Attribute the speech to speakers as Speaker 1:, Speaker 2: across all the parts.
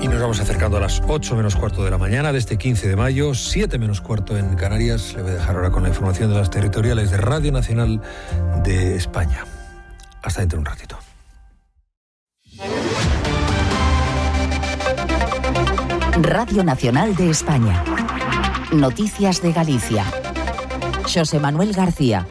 Speaker 1: Y nos vamos acercando a las 8 menos cuarto de la mañana de este 15 de mayo, 7 menos cuarto en Canarias. Le voy a dejar ahora con la información de las territoriales de Radio Nacional de España. Hasta dentro de un ratito.
Speaker 2: Radio Nacional de España. Noticias de Galicia. Xosé Manuel García.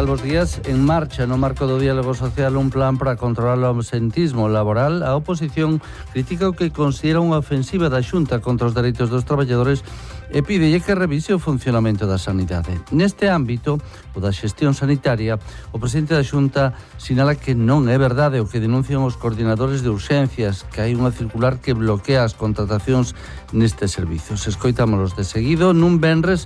Speaker 3: Bos días. En marcha no marco do diálogo social un plan para controlar o absentismo laboral. A oposición critica o que considera unha ofensiva da Xunta contra os dereitos dos traballadores e pídelle que revise o funcionamento da sanidade. Neste ámbito, o da xestión sanitaria, o presidente da Xunta sinala que non é verdade o que denuncian os coordinadores de urxencias, que hai unha circular que bloquea as contratacións nestes servizos. Escoitámolos de seguido nun venres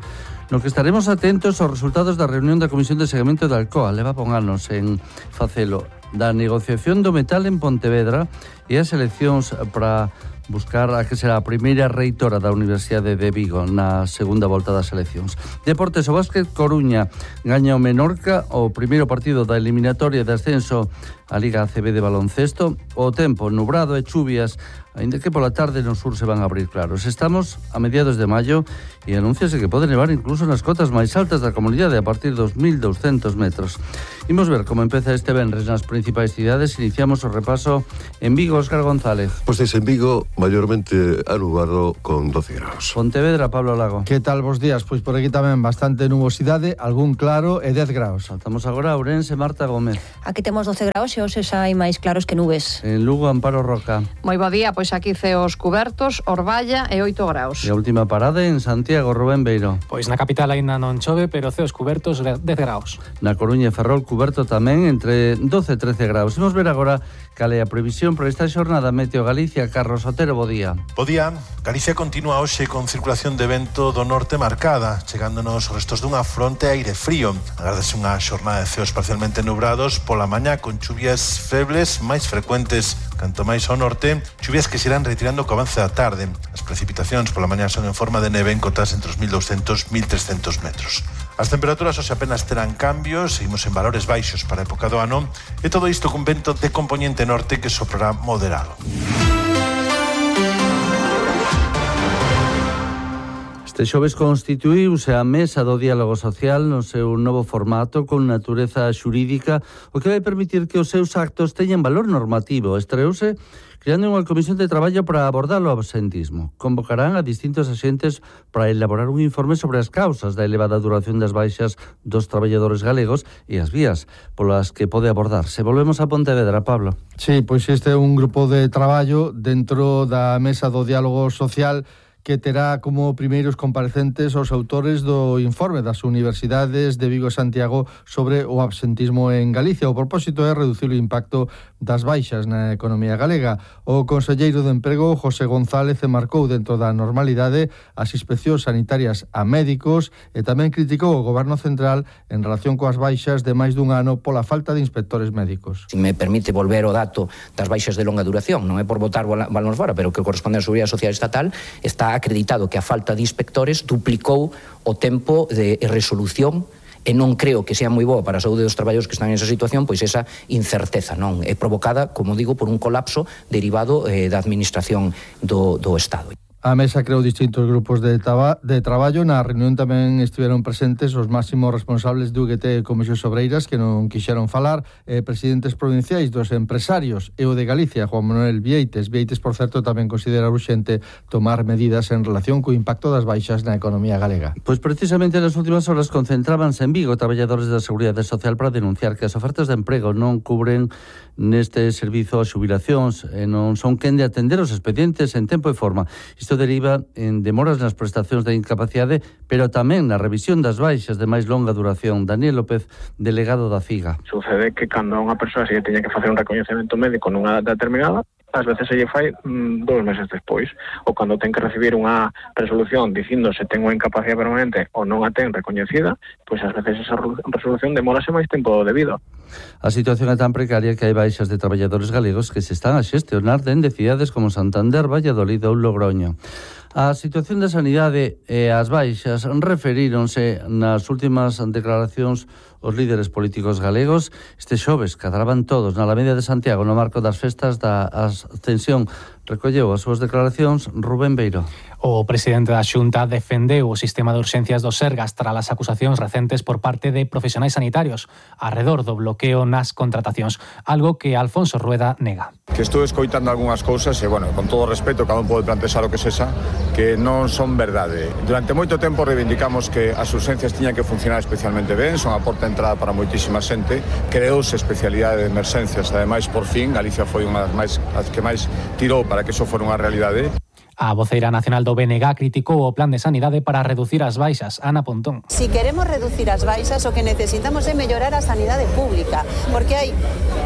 Speaker 3: no que estaremos atentos aos resultados da reunión da Comisión de Seguimento da Alcoa. Leva anos en facelo, da negociación do metal en Pontevedra e as eleccións para buscar a que será a primeira reitora da Universidade de Vigo na segunda volta das eleccións. Deportes, o Básquet Coruña gaña o Menorca o primeiro partido da eliminatoria de ascenso a Liga ACB de baloncesto. O tempo nubrado e chuvias, aínda que pola tarde no sur se van a abrir claros. Estamos a mediados de maio e anúnciase que pode nevar incluso nas cotas máis altas da comunidade a partir dos 1.200 metros. Imos ver como empeza este venres nas principais cidades. Iniciamos o repaso en Vigo. Óscar González.
Speaker 4: Pois en Vigo, maiormente anubado con 12 graus.
Speaker 3: Pontevedra, Pablo Lago.
Speaker 5: Que tal vos días? Pois por aquí tamén bastante nubosidade, algún claro e 10 graus.
Speaker 3: Saltamos agora a Ourense, Marta Gómez.
Speaker 6: Aquí temos 12 graus e hoxe xa hai máis claros que nubes.
Speaker 3: En Lugo, Amparo Roca.
Speaker 7: Moi bo día, pois aquí ceos cubertos, Orballa e 8 graus.
Speaker 3: E a última parada en Santiago, Rubén Beiro.
Speaker 8: Pois na capital aínda non chove, pero ceos cubertos 10 graus.
Speaker 3: Na Coruña e Ferrol cuberto tamén entre 12 e 13 graus. Imos ver agora cal é a previsión para esta xornada. Meteo Galicia, Carlos Otero, bo día.
Speaker 9: Bo día. Galicia continúa hoxe con circulación de vento do norte marcada, chegándonos os restos dunha fronte aire frío. Agárdase unha xornada de ceos parcialmente nubrados pola mañá con chuvias febles máis frecuentes canto máis ao norte, chuvias que se irán retirando co avance da tarde. As precipitacións pola mañá son en forma de neve en cotas entre os 1.200 e 1.300 metros. As temperaturas hoxe apenas terán cambios, seguimos en valores baixos para a época do ano, e todo isto cun vento de compoñente norte que soprará moderado.
Speaker 3: Este xoves constituíuse a Mesa do Diálogo Social no seu novo formato con natureza xurídica, o que vai permitir que os seus actos teñan valor normativo. Estreouse creando unha comisión de traballo para abordar o absentismo. Convocarán a distintos axentes para elaborar un informe sobre as causas da elevada duración das baixas dos traballadores galegos e as vías polas que pode abordarse. Volvemos a Pontevedra, Pablo.
Speaker 5: Sí, pois este é un grupo de traballo dentro da Mesa do Diálogo Social que terá como primeiros comparecentes os autores do informe das universidades de Vigo e Santiago sobre o absentismo en Galicia. O propósito é reducir o impacto das baixas na economía galega. O conselleiro de Emprego, José González, marcou dentro da normalidade as inspeccións sanitarias a médicos e tamén criticou o Goberno Central en relación coas baixas de máis dun ano pola falta de inspectores médicos.
Speaker 10: Si me permite volver ao dato das baixas de longa duración, non é por botar balóns fora, pero que corresponde á Seguridade Social Estatal, está acreditado que a falta de inspectores duplicou o tempo de resolución e non creo que sea moi boa para a saúde dos traballadores que están en esa situación, pois esa incerteza non é provocada, como digo, por un colapso derivado da administración do Estado.
Speaker 5: A mesa creou distintos grupos de traballo. Na reunión tamén estiveron presentes os máximos responsables de UGT e Comisións Obreiras que non quixeron falar, presidentes provinciais dos empresarios e o de Galicia, Juan Manuel Vieites. Vieites, por certo, tamén considera urxente tomar medidas en relación co impacto das baixas na economía galega.
Speaker 3: Pois precisamente nas últimas horas concentrábanse en Vigo traballadores da Seguridade Social para denunciar que as ofertas de emprego non cubren neste servizo as xubilacións e non son quen de atender os expedientes en tempo e forma. Isto deriva en demoras nas prestacións de incapacidade, pero tamén na revisión das baixas de máis longa duración. Daniel López, delegado da CIGA.
Speaker 11: Sucede que cando a unha persoa se teña que facer un recoñecemento médico nunha data determinada, ás veces se lle fai 2 meses despois, ou cando ten que recibir unha resolución dicindo se ten unha incapacidade permanente ou non a ten recoñecida, pois ás veces esa resolución demórase máis tempo do debido.
Speaker 3: A situación é tan precaria que hai baixas de traballadores galegos que se están a xestionar dende cidades como Santander, Valladolid ou Logroño. A situación da sanidade e as baixas referíronse nas últimas declaracións os líderes políticos galegos. Este xoves cadraban todos na Alameda de Santiago no marco das festas da Ascensión. Recolleu as súas declaracións Rubén Beiro.
Speaker 8: O presidente da Xunta defendeu o sistema de urxencias do Sergas tras as acusacións recentes por parte de profesionais sanitarios arredor do bloqueo nas contratacións, algo que Alfonso Rueda nega.
Speaker 12: Que estou escoitando algunhas cousas e, bueno, con todo o respeto, cada un pode plantexar o que sexa, que non son verdade. Durante moito tempo reivindicamos que as urxencias tiñan que funcionar especialmente ben, son a porta de entrada para moitísima xente, creouse especialidade de emerxencias, ademais, por fin, Galicia foi unha das que máis tirou para que iso fora unha realidade.
Speaker 8: A voceira nacional do BNG criticou o plan de sanidade para reducir as baixas. Ana Pontón.
Speaker 13: Si queremos reducir as baixas, o que necesitamos é mellorar a sanidade pública, porque hai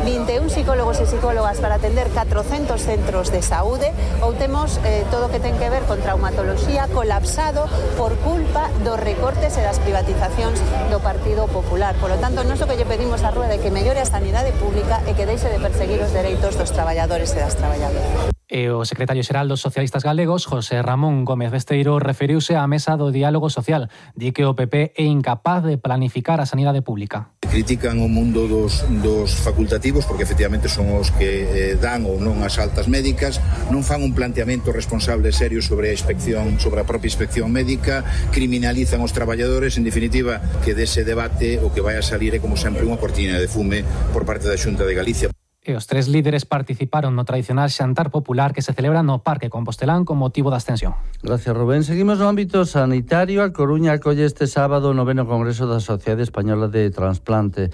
Speaker 13: 21 psicólogos e psicólogas para atender 400 centros de saúde, ou temos todo o que ten que ver con traumatoloxía colapsado por culpa dos recortes e das privatizacións do Partido Popular. Por lo tanto, non o que lle pedimos a Rueda é que mellore a sanidade pública e que deixe de perseguir os dereitos dos traballadores e das traballadoras.
Speaker 8: E o secretario xeral dos socialistas galegos, José Ramón Gómez Besteiro, referiuse á mesa do diálogo social. Di que o PP é incapaz de planificar a sanidade pública.
Speaker 14: Critican o mundo dos facultativos porque efectivamente son os que dan ou non as altas médicas, non fan un planteamento responsable serio sobre a inspección, sobre a propia inspección médica, criminalizan os traballadores, en definitiva, que dese debate o que vai a salir é como sempre unha cortina de fume por parte da Xunta de Galicia.
Speaker 8: E os tres líderes participaron no tradicional xantar popular que se celebra no Parque Compostelán con motivo da Ascensión.
Speaker 3: Gracias, Rubén. Seguimos no ámbito sanitario. A Coruña acolle este sábado o 9º Congreso da Sociedade Española de Transplante.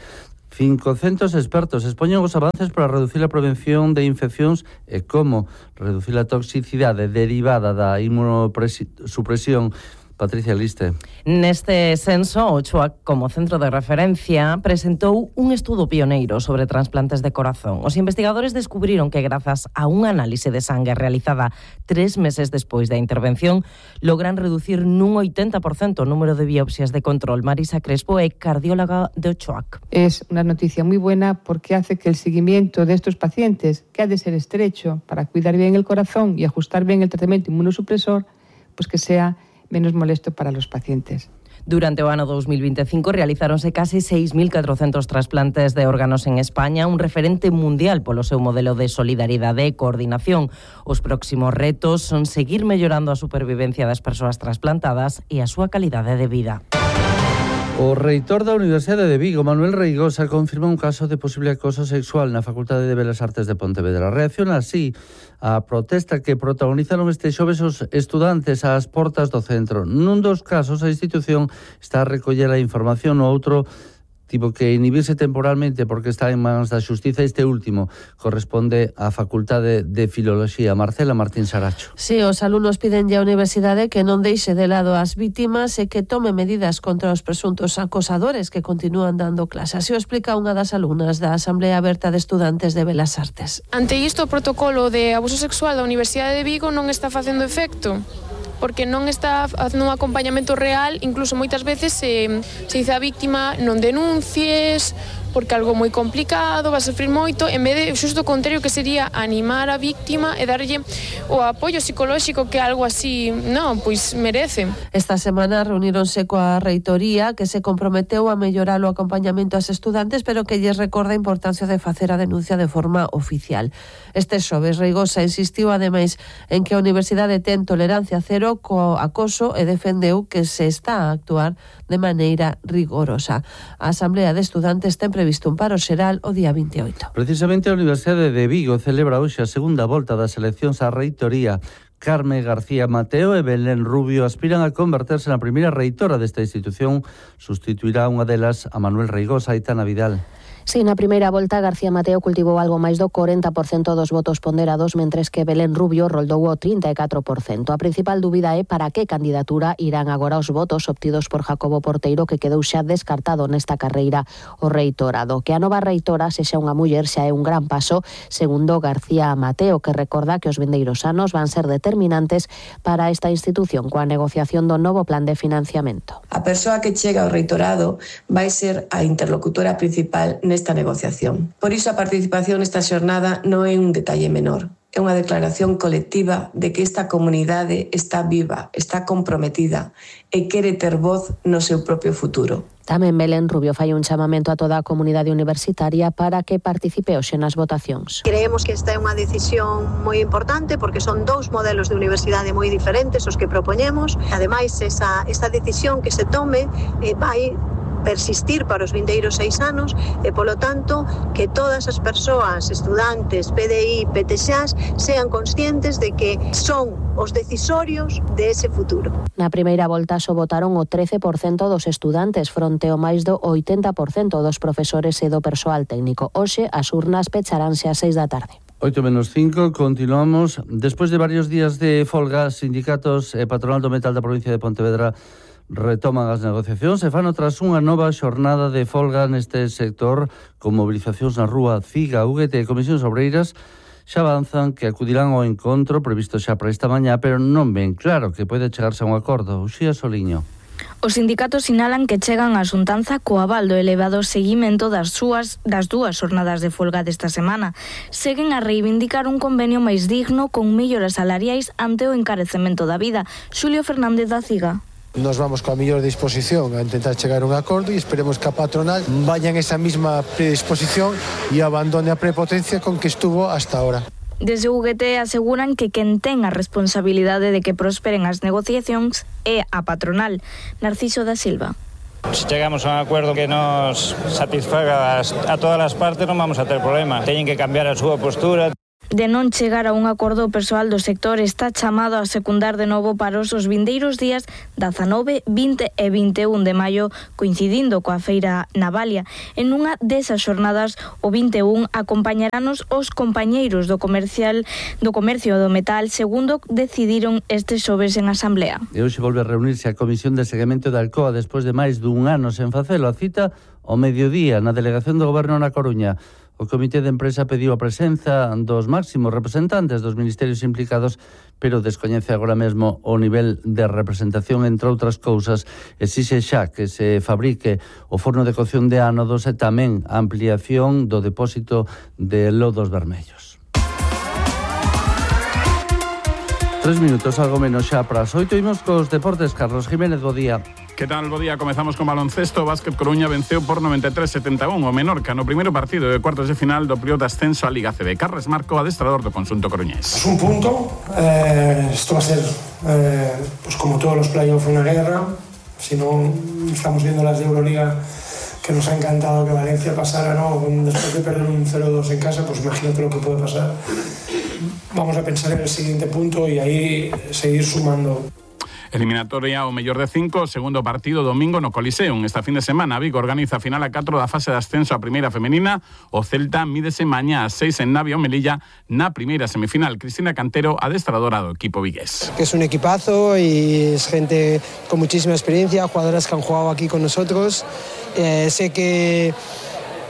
Speaker 3: 500 expertos expoñen os avances para reducir a prevención de infeccións e como reducir a toxicidade derivada da inmunosupresión. Patricia Liste.
Speaker 15: Neste senso, o CHUAC, como centro de referencia, presentou un estudo pioneiro sobre trasplantes de corazón. Os investigadores descubriron que, grazas a unha análise de sangue realizada 3 meses despois da intervención, logran reducir nun 80% o número de biopsias de control. Marisa Crespo é cardióloga do CHUAC.
Speaker 16: Es una noticia muy buena porque hace que el seguimiento de estos pacientes, que ha de ser estrecho para cuidar bien el corazón y ajustar bien el tratamiento inmunosupresor, pues que sea menos molesto para los pacientes.
Speaker 15: Durante o ano 2025 realizáronse case 6.400 trasplantes de órganos en España, un referente mundial polo seu modelo de solidaridade e coordinación. Os próximos retos son seguir mellorando a supervivencia das persoas trasplantadas e a súa calidade de vida.
Speaker 3: O reitor da Universidade de Vigo, Manuel Reigosa, confirma un caso de posible acoso sexual na Facultade de Belas Artes de Pontevedra. Reacciona así a protesta que protagonizaron este xoves os estudantes ás portas do centro. Nun dos casos, a institución está a recoller a información, no outro tivo que inhibirse temporalmente porque está en mans da Xustiza. Este último corresponde á Facultade de Filoloxía. Marcela Martín Saracho.
Speaker 17: Si, os alumnos piden á Universidade que non deixe de lado as vítimas e que tome medidas contra os presuntos acosadores que continúan dando clase. Así o explica unha das alumnas da Asamblea Aberta de Estudantes de Belas Artes.
Speaker 18: Ante isto, o protocolo de abuso sexual da Universidade de Vigo non está facendo efecto, porque non está facendo un acompañamento real. Incluso moitas veces se dice a víctima non denuncies porque algo moi complicado, va a sufrir moito, en vez de xusto o contrario, que sería animar a víctima e darlle o apoio psicolóxico que algo así, non, pois merece.
Speaker 17: Esta semana reuníronse coa reitoría, que se comprometeu a mellorar o acompañamento ás estudantes, pero que lles recorda a importancia de facer a denuncia de forma oficial. Este xoves, Reigosa insistiu ademais en que a Universidade ten tolerancia cero co acoso e defendeu que se está a actuar de maneira rigorosa. A Asamblea de Estudantes ten previsto un paro xeral o día 28.
Speaker 3: Precisamente a Universidade de Vigo celebra hoxe a segunda volta das eleccións á reitoría. Carme García Mateo e Belén Rubio aspiran a converterse na primeira reitora desta institución. Sustituirá unha delas a Manuel Reigosa e Aitana Vidal.
Speaker 19: Si, na primeira volta García Mateo cultivou algo máis do 40% dos votos ponderados, mentres que Belén Rubio roldou o 34%. A principal dúbida é para que candidatura irán agora os votos obtidos por Jacobo Porteiro, que quedou xa descartado nesta carreira o reitorado. Que a nova reitora sexa unha muller xa é un gran paso, segundo García Mateo, que recorda que os vindeiros anos van ser determinantes para esta institución coa negociación do novo plan de financiamento.
Speaker 20: A persoa que chega ao reitorado vai ser a interlocutora principal nesta negociación. Por iso a participación nesta xornada non é un detalle menor. é unha declaración colectiva de que esta comunidade está viva, está comprometida e quere ter voz no seu propio futuro.
Speaker 19: Tamén Belén Rubio fai un chamamento a toda a comunidade universitaria para que participe hoxe nas votacións.
Speaker 21: Creemos que esta é unha decisión moi importante porque son dous modelos de universidade moi diferentes os que propoñemos. Ademais, esa decisión que se tome vai persistir para os vindeiros 6 anos e, polo tanto, que todas as persoas, estudantes, PDI, PTXAs, sean conscientes de que son os decisorios de ese futuro.
Speaker 19: Na primeira volta só votaron o 13% dos estudantes fronte ao máis do 80% dos profesores e do persoal técnico. Hoxe as urnas pecharánse ás 6 da tarde.
Speaker 3: 8:05, continuamos. Despois de varios días de folga, sindicatos e patronal do metal da provincia de Pontevedra retoman as negociacións e fan tras unha nova xornada de folga neste sector con movilizacións na rúa. CIGA, UGT e Comisións Obreiras xa avanzan que acudirán ao encontro previsto xa para esta mañá, pero non ven claro que pode chegarse a un acordo. Uxía Soliño.
Speaker 22: Os sindicatos sinalan que chegan á xuntanza co aval do elevado seguimento das dúas xornadas de folga desta semana. Seguen a reivindicar un convenio máis digno con melloras salariais ante o encarecemento da vida. Xulio Fernández da CIGA.
Speaker 23: Nos vamos coa mellor disposición a intentar chegar a un acordo e esperemos que a patronal vaya en esa mesma predisposición e abandone a prepotencia con que estuvo hasta ahora.
Speaker 22: Desde UGT aseguran que quen ten a responsabilidade de que prosperen as negociacións é a patronal. Narciso da Silva.
Speaker 24: Se chegamos a un acuerdo que nos satisfaga a todas as partes non vamos a ter problema. Teñen que cambiar a súa postura.
Speaker 22: De non chegar a un acordo, o persoal do sector está chamado a secundar de novo para os vindeiros días 19, 20 e 21 de maio, coincidindo coa feira Navalia. En unha desas xornadas, o 21, acompañaranos os compañeiros do comercio do metal, segundo decidiron este xoves en asamblea.
Speaker 3: E hoxe volve a reunirse a Comisión de Seguimento da Alcoa despois de máis dun ano sen facelo. A cita ao mediodía na Delegación do Goberno na Coruña. O Comité de Empresa pediu a presenza dos máximos representantes dos ministerios implicados, pero descoñece agora mesmo o nivel de representación, entre outras cousas. Exixe xa que se fabrique o forno de cocción de ánodos e tamén a ampliación do depósito de lodos vermellos. 3 minutos, algo menos xa para as 8. Imos cos deportes. Carlos Jiménez, bo día.
Speaker 25: Que tal, bo día? Comezamos con baloncesto. Básquet Coruña venceu por 93-71 o Menorca no primeiro partido de cuartos de final do período de ascenso á Liga CB. Carles Marco, adestrador do conxunto coruñés.
Speaker 26: Es un punto. Esto va a ser, pues como todos los playoffs, una guerra. Si no, estamos viendo las de Euroliga, que nos ha encantado que Valencia pasara, ¿no? Después de perder un 0-2 en casa, pues imagínate lo que puede pasar. Vamos a pensar en el siguiente punto y ahí seguir sumando.
Speaker 25: Eliminatoria ao mellor de 5, segundo partido domingo no Coliseum. Esta fin de semana Vigo organiza a final a 4 da fase de ascenso a primeira femenina. O Celta mídese mañá a 6 en Navia o Melilla na primeira semifinal. Cristina Cantero, adestradora do equipo vigués.
Speaker 27: Que es un equipazo y es gente con muchísima experiencia, jugadoras que han jugado aquí con nosotros. Sé que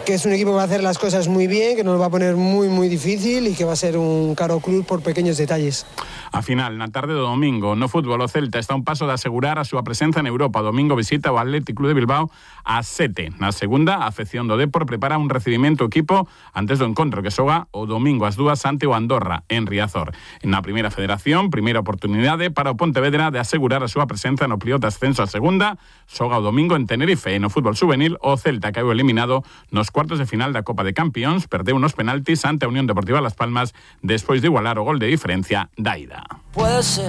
Speaker 27: es un equipo que va a hacer las cosas muy bien, que nos va a poner muy difícil y que va a ser un caro club por pequeños detalles.
Speaker 25: A final, na tarde do domingo, no fútbol, o Celta está a un paso de asegurar a súa presenza en Europa. Domingo visita o Athletic Club de Bilbao a 7. Na segunda, a afección do Depor prepara un recibimento equipo antes do encontro que xoga o domingo ás 2 ante o Andorra, en Riazor. Na primeira federación, primeira oportunidade para o Pontevedra de asegurar a súa presenza no playoff de ascenso a segunda. Xoga o domingo en Tenerife. E no fútbol juvenil, o Celta caeu eliminado nos cuartos de final da Copa de Campións, perdeu unos penaltis ante a Unión Deportiva Las Palmas despois de igualar o gol de diferencia da ida.
Speaker 28: Puede ser